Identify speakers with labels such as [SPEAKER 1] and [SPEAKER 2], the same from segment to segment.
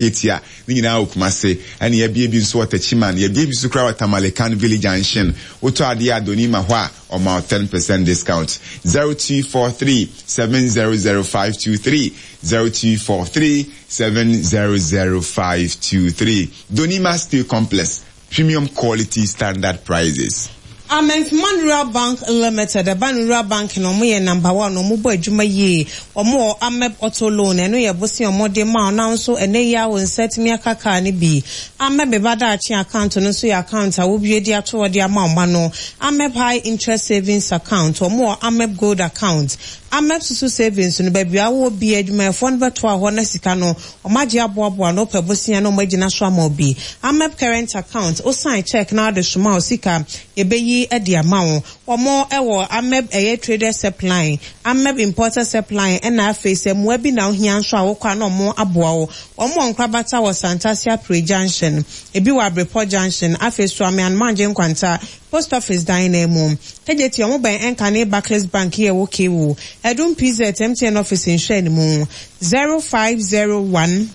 [SPEAKER 1] Ketia, ne nyinaa wɔ Kumase. Ɛna yɛabue bi nso wɔ Techiman. Yɛabue bi nso koraa wɔ Tamale Kan Village Junction. Wotɔ adeɛ a Donima hɔ a, ɔma wo 10% discount. 0243 700 523, 0243 700 523. Donima Steel Complex, Premium quality, standard prices.
[SPEAKER 2] Amenfman Rural Bank Limited, ɛba no Rural Bank no ɔmo yɛ number one, ɔmo bɔ adwuma yie, ɔmo wɔ Ameb Auto Loan, ɛno yɛ bosea ɔmo de ma wo na wo nso ɛnɛ yi ara wo nsa atumi aka car no bi. Ameb Me Ba Daakye account no nso yɛ account a wobue de ato hɔ de ama wo mma no. Ameb High Interest Savings Account, ɔmo wɔ Ameb Gold Account. Ameb Susu Savings no, baabi a wowɔ biara adwumayɛfoɔ no bɛtoa hɔ na sika no Wɔagye aboaboa ano pɛ bosea na wɔagyina so ama wo bi. Amep current account, wo sign check na wode soma wo sika, yɛbɛyi de ama wo. Wɔn wɔ Amep ɛyɛ traders helpline, Amep importers helpline ɛna afei sɛ mmoa bi na wohia nso a wokɔ a na wɔn aboa wo. Wɔn wɔ nkorabata wɔ Santase Apre junction, ebi wɔ Abrepɔ junction, afei Suame Anomaangye Nkwanta Post office dan no mu. Kejetia ɔmo bɛn ɛnkane Barclays bank yi a ɛwɔ KU, Adum PZ MTN office nhwɛanimu, 0501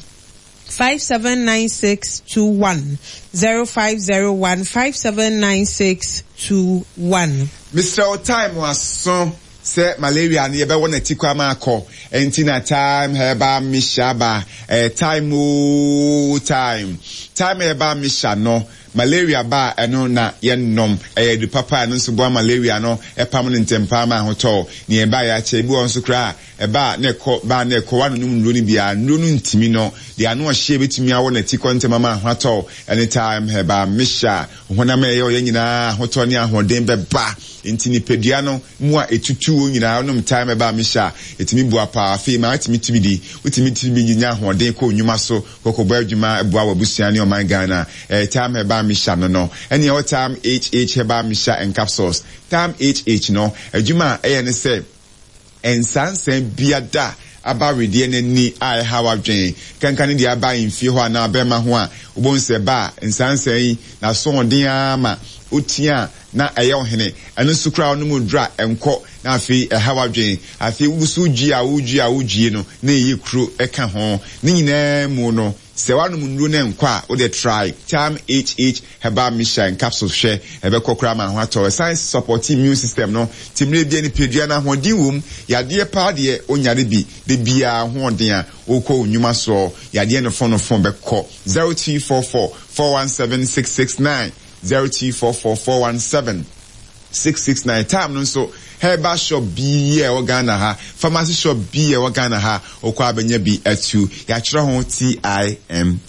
[SPEAKER 2] 579621, 0501 579621.
[SPEAKER 1] Mesrɛ wo time aso sɛ malaria no yɛbɛwɔ no atikɔ ama akɔ ɛnti na time herbal mixture aba ɛyɛ time oo time time herbal mixture no Malaria ba a, ɛno na yɛnnom. Ɛyɛ adu papa a ɛno nso boa malaria no pam no ntɛmpa ara ma ahotɔ. Nea ɛba a yɛakyɛ, ebi wɔ hɔ nso koraa a, ɛba a na ɛkɔ, ba a na ɛkɔ, woanonom nnuro no bi a, nnuro no ntumi no. Deɛ ano ɔhye a ɛbɛtumi awɔ n'atikɔ ntɛm ama ho atɔ wo ne thyme herbal mixture a honam a ɛyɛ ɔyɛ nyinaa ahotɔ ne ahoɔden bɛba. Enti nipadua no mu a ɛtutu wo nyinaa, wonom thyme herbal mixture a, ɛtumi boa paa. Afei ma wotumi tumi di, wotumi tumi nya ahoɔden kɔ wo nnwuma so. Kɔkɔbɔ adwuma boa w'abusua ne ɔman Ghana. Ɛyɛ Tam Herbal Mixture no no. Ɛne ɛwɔ Tam HH Herbal Mixture and Capsules. Tam HH no, adwuma a ɛyɛ ne sɛ, nsansan biada aba wedeɛ no ani a ɛhaw adwene, kanka ne deɛ aba mfie hɔ anaa bɛrima ho a, wobɛhu sɛ ɛba a, nsansan yi, n'asoɔden ara ma wotia a, na ɛyɛ ɔhene. Ɛno nso koraa wonom aduru a, ɛnkɔ, na afei ɛhaw adwene. Afei wogu so redwie a woredwie a woredwie no, na ɛyɛ kuro ka ho. Ne nyinaa mu no, sɛ woanom nnuro na ɛnkɔ a, wode try Thyme HH Herbal Mixture and Capsules hwɛ, ɛbɛkɔ koraa ma ho atɔ wo. Ɛsan sɔpɔte immune system no, nti mmerɛ biara nipadua no ahoɔden wom. Yadeɛ paa deɛ, wonyare bi. Da biara ahoɔden a wokɔ wo nnwuma soɔ, yadeɛ nofo nofo bɛkɔ. 0244 417 669. 0244 417 669 Time no nso herbal shop bi a ɛwɔ Ghana ha, pharmacy shop bi a ɛwɔ Ghana ha, wokɔ a bɛnya bi atu. Yɛatwerɛ ho TIME.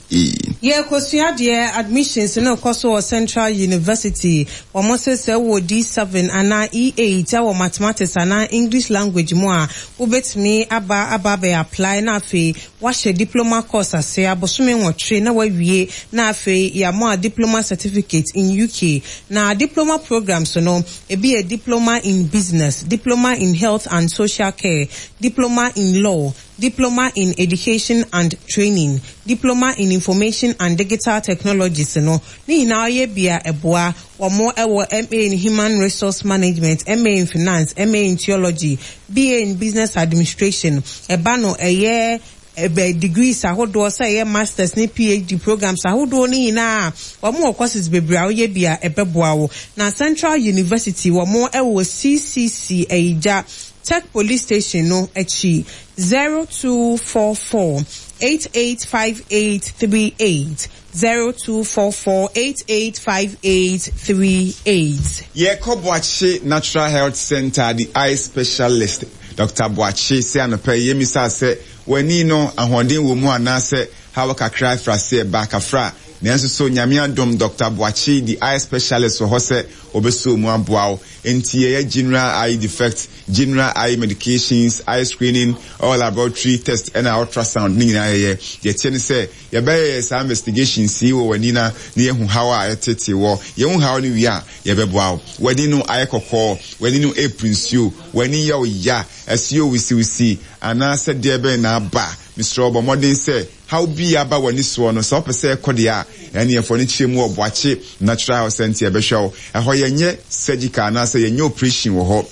[SPEAKER 2] Yɛrekɔsua adeɛ, Admissions no rekɔ so wɔ Central University. Wɔn se sɛ wowɔ D7 anaa E8 wɔ Mathematics anaa English language mu a, wobɛtumi aba aba abɛ apply na afei Woahyɛ diploma course ase abosome nwɔtwe na woawie na afei yɛama wo diploma certificate in UK. Na diploma programs no, ebi yɛ Diploma in Business, Diploma in Health and Social Care, Diploma in Law, Diploma in Education and Training, Diploma in Information and Digital Technologies no, ne nyinaa woyɛ bi a ɛboa. Wɔn wɔ MA in Human Resource Management, MA in Finance, MA in Theology, BA in Business Administration. Ɛba no ɛyɛ ɛbɛ degrees ahodoɔ sɛ ɛyɛ Masters ne PhD programs ahodoɔ no nyinaa a, wɔn wɔ courses bebree a woyɛ bi a ɛbɛboa wo. Na Central University wɔn wɔ CCC Ayigya Tech Police Station no akyi, 0244 885838. 0244 88 5838.
[SPEAKER 1] Yɛrekɔ Boakye Natural Health Centre de Eye Specialist Doctor Boakye se anɔpa yi yɛmmisaa sɛ w'ani no ahoɔden wɔ mu anaasɛ haw kakra afiri aseɛ ba kafra nanso so Nyame adom Doctor Boakye de Eye Specialist wɔ hɔ sɛ ɔbɛsɔ mu aboa wo enti yɛyɛ General Eye Defect, General Eye Medications, Eye Screening, All Laboratory Test ɛna Ultrasound ne nyinaa yɛyɛ. Deɛ ɛteɛ ne sɛ Yɛbɛyɛ saa investigations yi wɔ w'ani na na yɛahu haw a ɛtete wɔ. Yɛhu haw no wie a, yɛbɛboa wo. W'ani no ayɛ kɔkɔɔ, w'ani no repru nsuo, w'ani yɛ wo ya, ɛso yɛ wisiwisi, anaasɛ deɛ bɛn na aba? Mesrɛ wo bɔ mmɔden sɛ haw bi a aba w'ani soɔ no, sɛ wopɛ sɛ ɛkɔ deɛ a, ɛneɛ fa w'ani kyerɛ mu wɔ Boakye Natural Health Centre, yɛbɛhwɛ wo. Ɛhɔ yɛnyɛ surgical anaasɛ yɛnyɛ operation wɔ hɔ.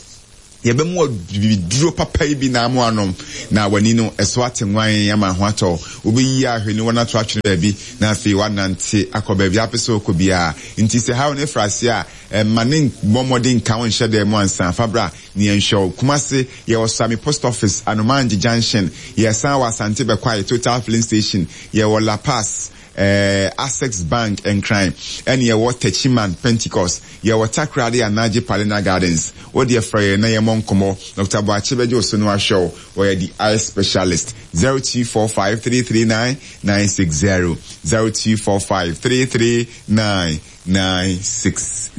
[SPEAKER 1] Yɛbɛma wo abibiduro papa yi bi na ama woanom, na w'ani no, ɛso ate nwann ama ho atɔ wo. Wobɛyi ahwene no ato atwene baabi, na afei woanante akɔ baabi a wopɛ sɛ wokɔ biara. Enti sɛ haw no fra ase a, mma no mmɔ mmɔden nka wo nhyɛ dan mu ansa. Fa bra na yɛnhwɛ wo. Kumasi, yɛwɔ Suame Post Office, Anomaangye Junction. Yɛsan wɔ Asante Bɛkwae, Total Filling Station. Yɛwɔ La Paz, Access Bank, Nkran, ɛne yɛwɔ Techiman, Pentecost. Yɛwɔ Takoradi Anagye Palina Gardens. Wo deɛ frɛ yɛn na yɛmmɔ nkɔmmɔ. Dɔkta Boakye bɛgye wo so na wahwɛ wo. Ɔyɛ the eye specialist. 0245 339 960. 0245 339 960.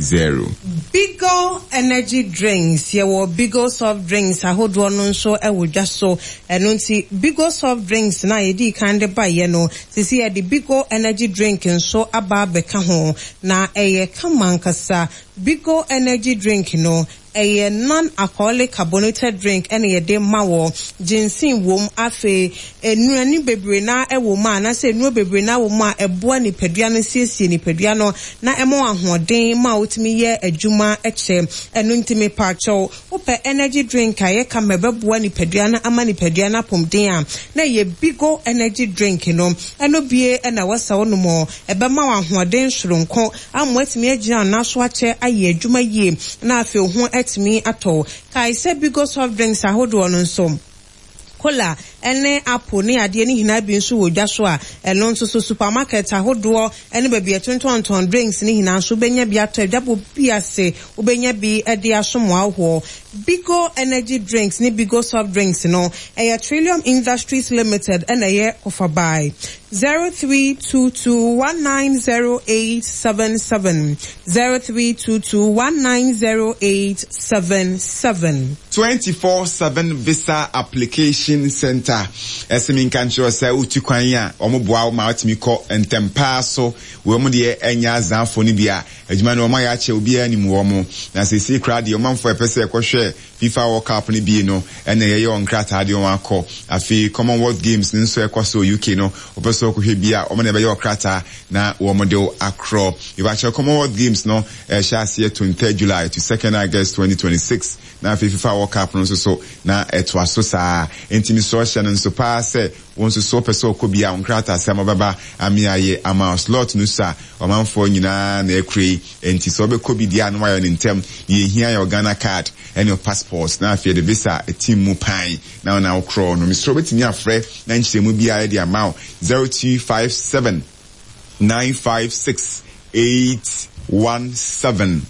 [SPEAKER 2] Bigo Energy Drinks, Yɛwɔ Bigo soft drinks ahodoɔ no nso wɔ dwa so. Ɛno nti Bigo soft drinks no a yɛdii kan de baeɛ no, seesei yɛde Bigo Energy Drink nso aba abɛka ho. Na ɛyɛ kama ankasa. Bigo Energy Drink no, Ɛyɛ non-alcoholic carbonated drink na yɛde ma wɔ. Ginseng wom. Afei nnuane bebree no ara wɔ mu a anaasɛ nnuro bebree no ara wɔ mu a ɛboa nipadua no siesie nipadua no na ɛma wo ahoɔden ma wotumi yɛ adwuma kyɛ. Ɛno nti mepaakyɛw wopɛ energy drink a ɛyɛ kama ɛbɛboa nipadua no ama nipadua no apomden a na ɛyɛ Bigo energy drink no. Ɛno bie na ɛwɔ sɛ wonom. Ɛbɛma wo ahoɔden soronko ama woatumi agyina wo nan so akyɛ ayɛ adwuma yie na afei wo ho atumi atɔ wo. Kae sɛ Bigo soft drinks ahodoɔ no nso, cola ne apple ne adeɛ no nyinaa bi nso wɔ dwa so a ɛno nso so supermarket ahodoɔ ne baabi a yɛtontɔntɔn drinks no nyinaa nso wobɛnya bi atɔ adwabɔ bi ase wobɛnya bi de asom w'ahoɔ. Bigo energy drinks ne Bigo soft drinks no ɛyɛ Trillium Industries Limited na ɛyɛ kɔfabae. 0322190877, 0322190877.
[SPEAKER 1] 24/7 Visa Application Centre, Ɛse menka nkyerɛ wo sɛ wotu kwan a, wɔboa wo ma wotumi kɔ ntɛm paa so. Wɔn deɛ ɛnyɛ azaafo no bi a, adwuma no wɔayɛ akyɛ obiara nim wɔn. Na seesei koraa deɛ ɔmanfoɔ a ɛpɛ sɛ ɛkɔhwɛ FIFA World Cup no bi no na yɛyɛ wɔn nkrataa de wɔn akɔ. Afei Commonwealth Games no nso a ɛkɔ so wɔ UK no, wopɛ sɛ wokɔhwɛ bi a, wɔn na ɛbɛyɛ wo krataa na wɔde wo akorɔ. Mepakyɛw, Commonwealth Games no ɛhyɛ aseɛ 23 July to 2nd August 2026, na afei FIFA World Cup no nso so na ɛtoa so saa. Enti mesrɛ wo hyɛ no nso paa sɛ wo nso so wopɛ sɛ wokɔ bi a, wo nkrataasɛm bɛba ame ayɛ ama wo. Slot no sua, ɔmanfoɔ nyinaa na ɛkura yi. Enti sɛ wobɛkɔ bi deɛ a na woayɛ no ntɛm. Deɛ ɛhia yɛ wo Ghana card ne wo passport na afei yɛde visa atim mu pan na wo na wokorɔ no. Mesrɛ wo wobɛtumi afrɛ na nkyerɛmu biara yɛde ama wo 0257 956 817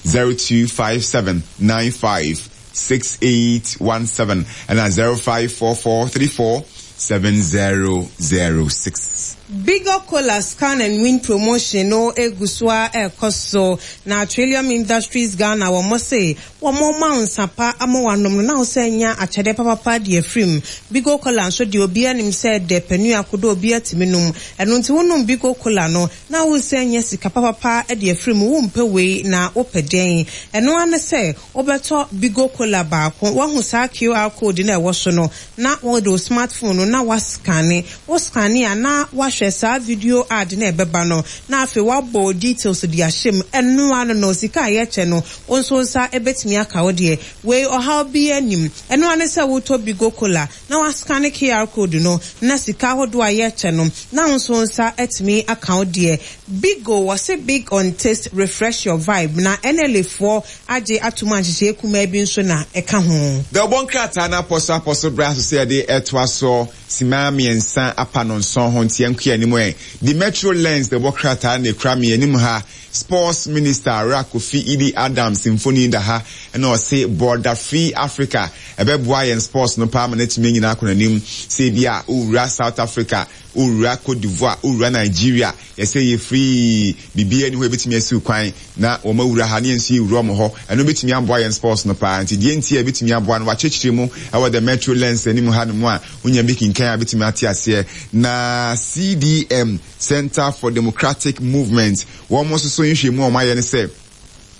[SPEAKER 1] 0257 95 6817 ɛna 0544 34 7006.
[SPEAKER 2] Bigger Cola Scan and Win promotion no gu so ara rekɔ so, na Trillium Industries Ghana wɔn se wɔn rema wo nsa pa ama woanom no na wo san nya akyɛdeɛ papapa de afiri mu. Bigo Cola nso deɛ obiara nim sɛ ɛdɛ, panua kodo obiara tumi nom. Ɛno nti wonom Bigo Cola no na wo san nya sika papapa de afiri mu, wompɛ wei na wopɛ dɛn? Ɛno ara ne sɛ Wobɛtɔ Bigo Cola baako, woahu saa QR code no a ɛwɔ so no, na wode wo smartphone no na woascanne. Wo scanne a, na woahwɛ saa video ad no a ɛbɛba no, na afei woabɔ wo details de ahyɛ mu. Ɛno ara no no, sika a yɛkyɛ no, wo nso wo nsa bɛtumi aka wo deɛ. Wei, ɔhaw biara nnim. Ɛno ara ne sɛ wotɔ Bigo Cola, na woascanne QR code no, na sika ahodoɔ a yɛkyɛ no, na wo nso wo nsa atumi aka wo deɛ. Bigo, wɔse big on taste, refresh your vibe, na NLA foɔ agye atom a nhyehyɛe kumaa bi nso na ɛka ho.
[SPEAKER 1] Dawubɔ nkrataa no apɔso-apɔso bra so sɛ yɛde retoa soɔ simma mmiɛnsa apa no nson ho nti yɛnkɔ yɛn anim ɛ. The Metro Lens dawubɔ krataa na ɛkura me anim ha. Sports Minister Owura Kofi Idi Adams mfoni da ha na ɔse Border Free Africa ɛbɛboa yɛn sports no paa ma no atumi anyini akɔ n'anim. Sɛ ebia wowura South Africa, wowura Cote d'Ivoire, wowura Nigeria, yɛsɛ yɛ free, biribiara nni hɔ a ɛbɛtumi asiw kwan na wɔn awura ha na yɛn nso yɛwura wɔn hɔ. Ɛno bɛtumi aboa yɛn sports no paa. Nti deɛ nti a ɛbɛtumi aboa no, wɔakyerɛkyerɛ mu wɔ The Metro Lens anim hanom a wonya bi kenkan a wobɛtumi ate aseɛ. Na CDM, Centre for Democratic Movement, wɔn nso so nhwehwɛmu a wɔayɛ ne sɛ,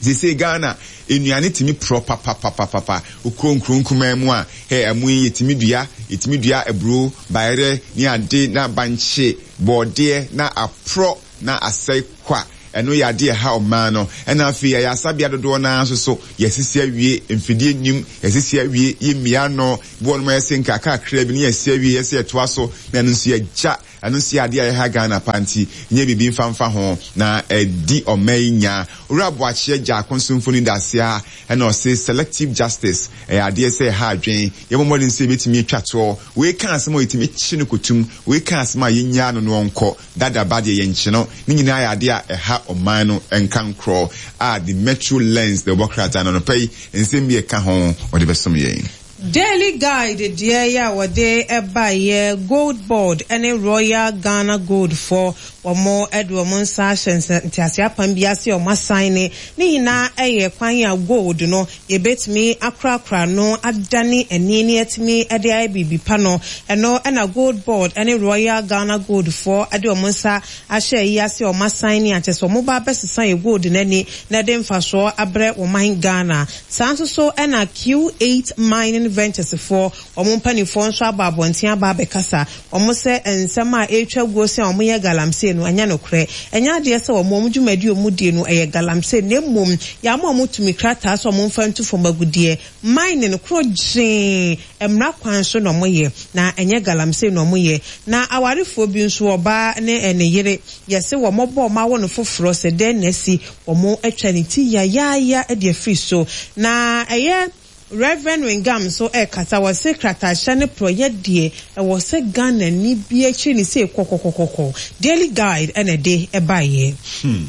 [SPEAKER 1] Seesei Ghana nnuane tumi porɔ papapapapa. Wokɔ nkuro nkumaa mu a, hɛ, ɛmo yi yɛtumi dua, yɛtumi dua aburo, bayerɛ ne ade na bankye, bɔɔdeɛ na aporɔ na asɛe kwa. Ɛno yɛ adeɛ a ɛha ɔman no. Ɛna afei ayaresabea dodoɔ no ara nso so, yɛasisi awie, mfidie nnim, yɛasisi awie, yɛmmia ano. Bi wɔ nom a yɛse nkakrakra bi ne yɛasi awie, yɛse yɛtoa so, na ɛno nso yɛagya. Ɛno nso yɛ adeɛ a ɛha Ghana paa nti nyɛ biribi mfa mfa ho na ɛdi ɔman yi nya. Owura Boakye Agyarko nso mfoni da ase ha ɛna ɔse selective justice ɛyɛ adeɛ sɛ ɛha adwen, yɛmmɔ mmɔden sɛ yɛbɛtumi atwa toɔ. Wei ka asɛm a yɛtumi kye no kɔtum, wei ka asɛm a yɛnnyaa no na ɔnkɔ, dada ba deɛ yɛnkye no. Ne nyinaa yɛ adeɛ a ɛha ɔman no nkankorɔ a The Metro Lens de bɔ krataa no anɔpa yi nsɛm bi a ɛka ho wɔde bɛsom yɛn.
[SPEAKER 2] Daily Guide deɛ yi a wɔde baeɛ, Gold Board ne Royal Ghana Gold foɔ wɔn de wɔn nsa ahyɛ nteaseɛ apam bi ase a wɔn asaene. Ne nyinaa yɛ kwan a gold no yɛbɛtumi akorakora no adane ani na yɛatumi de ayɛ biribi pa no. Ɛno na Gold Board ne Royal Ghana Gold foɔ de wɔn nsa ahyɛ ayi ase a wɔn asaene a kyerɛ sɛ wɔn ba abɛsesa yɛ gold no ani na ɛde mfasoɔ abrɛ wɔman Ghana. Saa nso so na Q8 Mining Ventures foɔ, wɔn mpaninfoɔ nso aba abɔnten aba abɛkasa. Wɔn sɛ nsɛm a ɛretwa guo sɛ wɔn yɛ galamsey no ɛnyɛ nokorɛ. Ɛnyɛ adeɛ sɛ wɔn wɔn dwumadie a wɔn die no ɛyɛ galamsey na mmom yɛama wɔn tumi krataa sɛ wɔn mfa ntu fam agudeɛ. Mining koro gyee mmara kwan so na wɔn yɛ na ɛnyɛ galamsey na wɔn yɛ. Na awarefoɔ bi nso ɔbaa ne ne yere yɛse wɔn bɔ wɔn awo no foforɔ sɛ dɛn na asi Wɔatwa ne ti yayaaya de afiri so. Na ɛyɛ Rev. Wingam nso rekasa, ɔse krataahyɛ ne porɔyɛ deɛ ɛwɔ sɛ Ghanani biara kyiri ne sei kɔkɔkɔkɔkɔ. Daily Guide na ɛde baeɛ.
[SPEAKER 1] Hmm.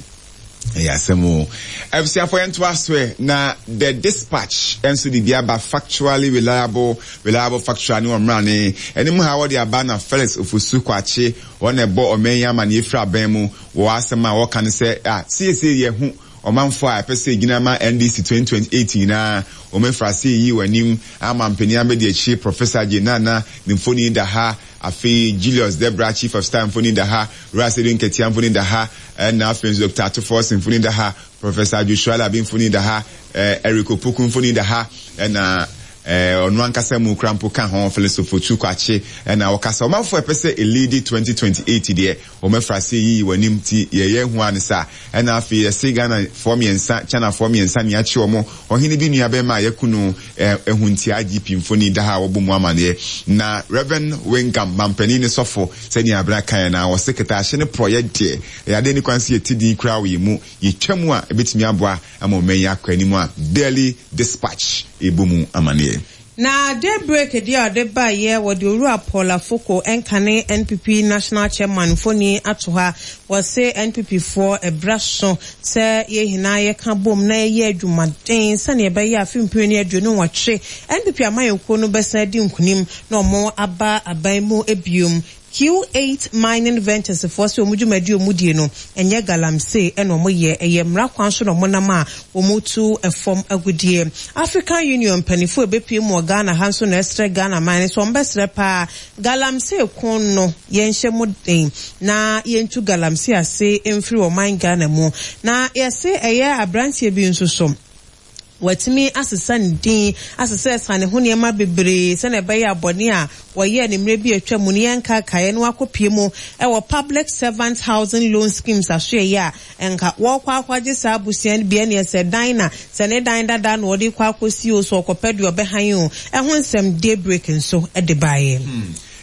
[SPEAKER 1] Ɛyɛ asɛm o. Abusuafo yɛntoa so ɛ. Na The Dispatch nso de bi aba factually reliable, reliable factual ne wɔn mmrane. Anim ha wɔde aba na Felix Ofosu Kwakye wɔn na ɛbɔ ɔman yi amaneɛ firi aban mu. Wɔ asɛm a wɔka ne sɛ, ah, seesei yɛahu ɔmanfoɔ a ɛpɛ sɛ ɛgyina ma NDC 2028 nyinaa, wɔn afiri ase reyi wɔn anim ama mpanin abɛdi akyire, Professor Jane Naana ne mfoni da ha, afei Julius Debrah Chief of Staff mfoni da ha, Wura Sedu Nketia mfoni da ha, ɛna afei nso Doctor Ato Forson mfoni da ha, Professor Joshua Alabi mfoni da ha, Eric Opoku mfoni da ha, ɛna ɔno ankasa mu kora mpo ka ho, Felix Ofosu Kwakye, ɛna ɔkasa. Ɔmanfoɔ a ɛpɛ sɛ ɛliidi 2028 deɛ, Wɔn afiri aseɛ yiyi wɔn anim nti yɛyɛ hu ara ne saa. Ɛna afei yɛse Ghana foɔ mmiɛnsa, China foɔ mmiɛnsa nea akye wɔn, ɔhene bi nua bɛɛma a yɛku no ɛho nti IGP mfoni da ha a wɔbɔ mu amaneɛ. Na Rev. Wengam, mampanin ne sɔfo, sɛnea abena kaeɛ no ara, ɔse kɛtɛahyɛ ne porɔeɛ deɛ, ɛyɛ adeɛ nni kwan sɛ yɛte din koraa wɔ yɛn mu, yɛtwa mu a ɛbɛtumi aboa ama ɔman yi akɔ anim a Daily Dispatch rebɔ mu amaneɛ.
[SPEAKER 2] Na Daybreak deɛ a ɔde baeɛ, wɔde Owura Paul Afoko nkane NPP National Chairman mfoni ato ha. Wɔse NPP foɔ ɛberɛ aso sɛ yɛn nyinaa yɛka bom na yɛyɛ adwumaden sɛdeɛ ɛbɛyɛ a afe 2028 NPP amanyɔkuo no bɛsan adi nkunim na wɔn aba aban mu biom. Q8 Mining Ventures foɔ sɛ wɔn dwumadie a wɔn die no ɛnyɛ galamsey ɛna wɔn yɛ, ɛyɛ mmara kwan so na wɔn nam a wɔn tu fam agudeɛ. African Union mpaninfoɔ a ɛbɛpue mu wɔ Ghana ha nso na ɛsrɛ Ghana man no sɛ wɔn bɛsrɛ paa galamsey ko no yɛnhyɛ mu den na yɛntu galamsey ase mfiri ɔman Ghana mu. Na yɛse ɛyɛ abranteɛ bi nso so. Watumi asesa ne din, asesɛsa ne ho nneɛma bebree sɛnea ɛbɛyɛ a bɔne a wɔyɛɛ no mmerɛ bi a atwa mu no yɛnkaakaeɛ na wakɔpue mu wɔ Public Servants Housing Loan Schemes asoɛeɛ a nka wɔrekɔ akɔgye saa abusua no bi ɛneɛ sɛ dan na sɛ ne dan dada na ɔde rekɔ akɔsi o sɛ ɔkɔpɛ deɛ ɔbɛhan o ɛho nsɛm Daybreak nso de baeɛ.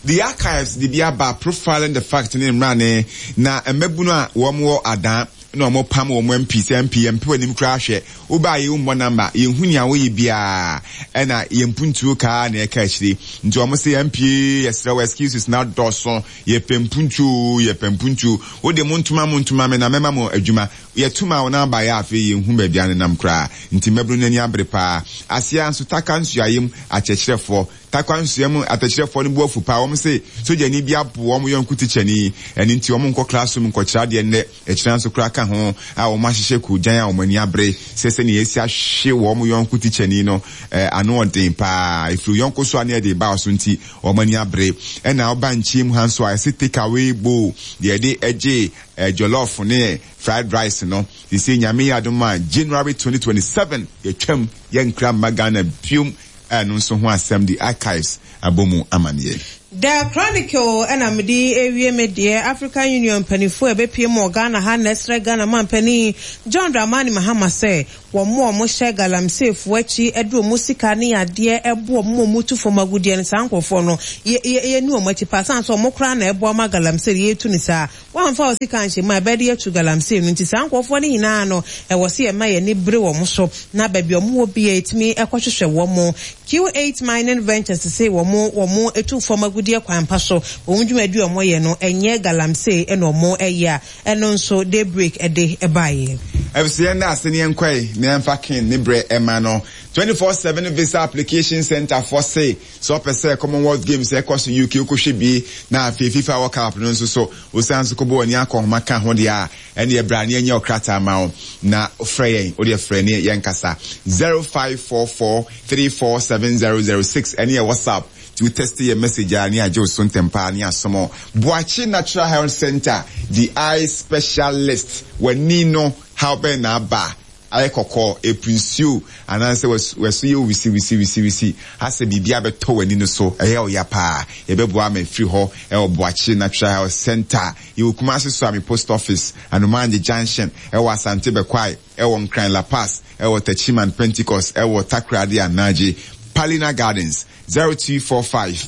[SPEAKER 1] The Archives de bi aba, Profiling the Fact ne mmrane na mmabunu a wɔn wɔ adan na ɔmo pam wɔn MP sɛ MP yɛn mpɛ w'anim koraa hwɛ wo baa yɛ wo mmɔ number yɛn hu nea wo yɛ biaa ɛna yɛn mpuntuo kaa na ɛka akyire nti ɔmo se MP yɛsrɛ wo excuses na dɔso yɛ pɛ mpuntuo oo yɛ pɛ mpuntuo wo de mo ntoma mo ntoma me na mɛma mo adwuma yɛ tuma wo na aba yɛ afei yɛn hu baabi anenam koraa nti mmabunu no ani abere paa aseɛ nso taka nsuayem akyerɛkyerɛfoɔ Tarkwa nsua mu atɛkyerɛfoɔ no bo afu paa, wɔn se sogyani bi abo wɔn yɔnko tikyani, ɛno nti wɔn nkɔ classroom nkɔkyerɛ adeɛ nnɛ, ɛkyena nso koraa ka ho a wɔn ahyehyɛ koogyan a wɔn ani abere sɛ sɛnea yɛasi ahwe wɔn yɔnko tikyani no ano ɔden paa, ɛfiri wo yɔnko so a na yɛde reba wo so nti wɔn ani abere. Ɛna woba nkyem ha nso a yɛse take away bowl deɛ yɛde gye jollof ne fried rice no, seisei Nyame yɛ adom a January 2027 yɛtwam yɛnkra mma Ghana biom. Ɛno nso ho asɛm de Archives abɔ mu amanneɛ.
[SPEAKER 2] The Chronicle na mede rewie me deɛ, African Union mpaninfoɔ a ɛbɛpue mu wɔ Ghana ha na ɛsrɛ Ghana manpanin John Dramani Mahama sɛ wɔn a wɔhyɛ galamseyfoɔ akyi de wɔn sika ne adeɛ boa wɔn ma wɔtu fam agudeɛ no saa nkorɔfoɔ no yɛ yɛ yɛnni wɔn akyi paa sane sɛ wɔn koraa na ɛboa ma galamsey no yɛtu no saa. Woamfa wo sika anhyɛ mu a ɛbɛyɛ de atu galamsey no nti saa nkorɔfoɔ no nyinaa no ɛwɔ sɛ yɛma yɛn ani bere wɔn so na baabi a wɔn wɔ biara yɛtumi kɔhwehwɛ wɔn. Q8 Mining Ventures se wɔn wɔn tu fam agudeɛ kwan pa so, wɔn dwumadi a wɔyɛ no ɛnyɛ galamsey na wɔn yɛ a ɛno nso Daybreak de baeɛ.
[SPEAKER 1] Abusua yɛnda ase ne yɛnkɔe na yɛmfa Ken ne brɛ ɛma no. 24/7 Visa Application Centre foɔ se sɛ ɔpɛ sɛ Commonwealth Games a ɛkɔ so UK wokɔhwɛ bie na afei FIFA World Cup no nso so wosan nso kɔbɔ w'ani akɔnhoma ka ho deɛ a ɛneɛ bra ne yɛnyɛ ɔkrataa ma wo na frɛ yɛn wodeɛ frɛ ne yɛnkasa 0544 347006 ɛne yɛ WhatsApp nti wo tɛste yɛ message a ne yɛagye wo so ntɛm paa ne yɛasom wo. Boakye Natural Health Centre the eye specialist w'ani no haw bɛn na aba ayɛ kɔkɔɔ, ɛpu nsuo anaasɛ w'aso yɛ wo wisi wisi wisi wisi asɛ biribi abɛtɔ w'ani no so ɛyɛ wo ya paa yɛbɛboa ama afiri hɔ ɛwɔ Boakye Natural Health Centre yɛwɔ Kumasi Suame Post Office Anomaangye Junction ɛwɔ Asante Bɛkwae ɛwɔ Nkran La Paz ɛwɔ Techiman Pentecost ɛwɔ Takoradi Anagye Palina Gardens 0245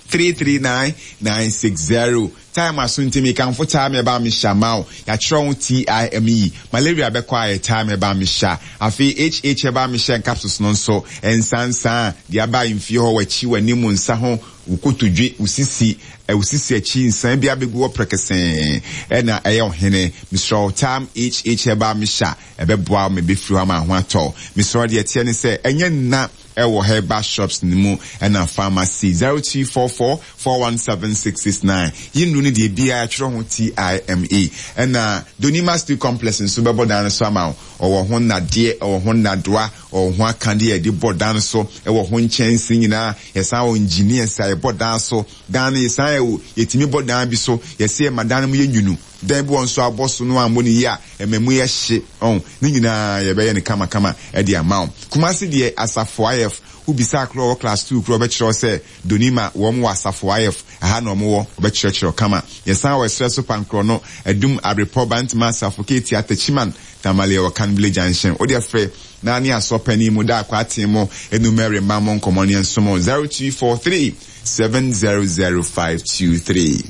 [SPEAKER 1] 339 960 Time aso nti mekamfo Time ɛba mehyɛ ma wo Yɛatwerɛ ho TIME Malaria bɛkɔ ayɛ Time ɛba mehyɛ Afei HH ɛba mehyɛ Ncapsules no nso nsansaa Deɛ aba mfie hɔ W'akyi, w'anim, wo nsa ho Wo kotodwe, wo sisi, wo sisi akyi Nsan bi abɛgu hɔ prɛkɛsɛɛ Ɛna ɛyɛ ɔhene Mesrɛ wo Time HH ɛba mehyɛ Ɛbɛboa wo ma ɛbɛfiri hɔ ama ho atɔ wo Mesrɛ wo deɛ ɛteɛ ne sɛ ɛnyɛ nna ɛwɔ herbal shops no mu ɛna pharmacy 0244 417 669 Yi nnuro no deɛ biara twerɛ ho TIME ɛna Donima Steel Complex nso bɛbɔ dan no so ama wo ɔwɔ ho nnadeɛ ɔwɔ ho nnadoa ɔwɔ ho akadeɛ a yɛde bɔ dan so ɛwɔ ho nkyɛnse nyinaa yɛsan wɔ engineers a yɛbɔ dan so dan no yɛsan yɛ yɛtumi bɔ dan bi so yɛsɛ yɛma dan no mu yɛ nwunu dan bi wɔ nso abɔ so no ammɔ ne yie a ɛma mu yɛ hye ɔn ne nyinaa yɛbɛyɛ no kamakama de ama wo. Kumasi deɛ Asafo IF wo bisa korɔ wɔ class two korɔ ɔbɛkyerɛ wo sɛ Donima wɔn wɔ Asafo IF ɛha na wɔn wɔ ɔbɛkyerɛkyerɛ wo kama. Yɛsan wɔ ɛserɛ so Pankorɔ no Adum Abrepɔ Bantama Asafo Ketia Techiman Tamale ɛwɔ Kanbile Junction. Wo deɛ frɛ na ne asɔ panin mu da akɔ aten mo enu Mary mma mo nkɔmɔ ne nsomo 0243 700523.